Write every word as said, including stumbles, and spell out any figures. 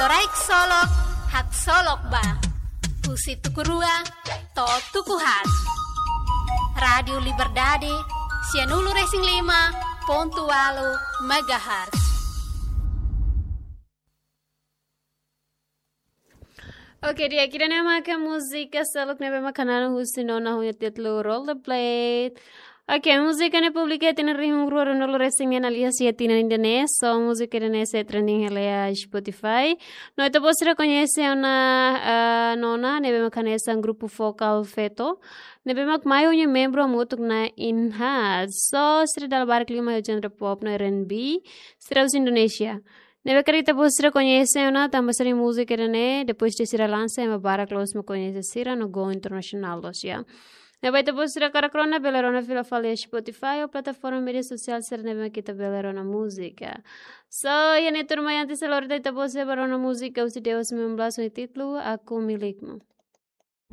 Toraik solok, haksolok ba. Husi tuku rua to'o tuku haat. Rádiu Liberdade, sianulu-resin-lima pontu ualu megahertz. Oke, di'ak, ida-ne'e maka múzika seluk ne'ebé maka naran husi nona ho nia títulu Roll the Blade. Oke, múzika ne'e publika iha tinan rihun rua ruanulu-resin-neen, alias iha tinan ida-ne'e. So, múzika ida-ne'e sei trending hela iha Spotify. No ita-boot sira koñese ona, ah, nona ne'ebé maka hanesan grupu vokál feto ne'ebé mak mai ho nia membru hamutuk na'in haat. So, sira dala barak liu mai ho genre pop no R and B, sira husi Indonézia. Ne'ebé karik ita-boot sira koñese ona tanba sira-nia múzika ida-ne'e, depois de sira lansa, ema barak loos mak koñese sira no go internasionál loos, ya. Ne'ebé ita-boot sira hakarak rona, bele rona fila fali iha Spotify ou plataforma média sosiál sira ne'ebé mak ita bele rona múzika. So, iha ne'e tuirmai, antes de lori ita-boot sira ba rona múzika husi Dewa sembilan belas ho nia títulu Aku Milikmu.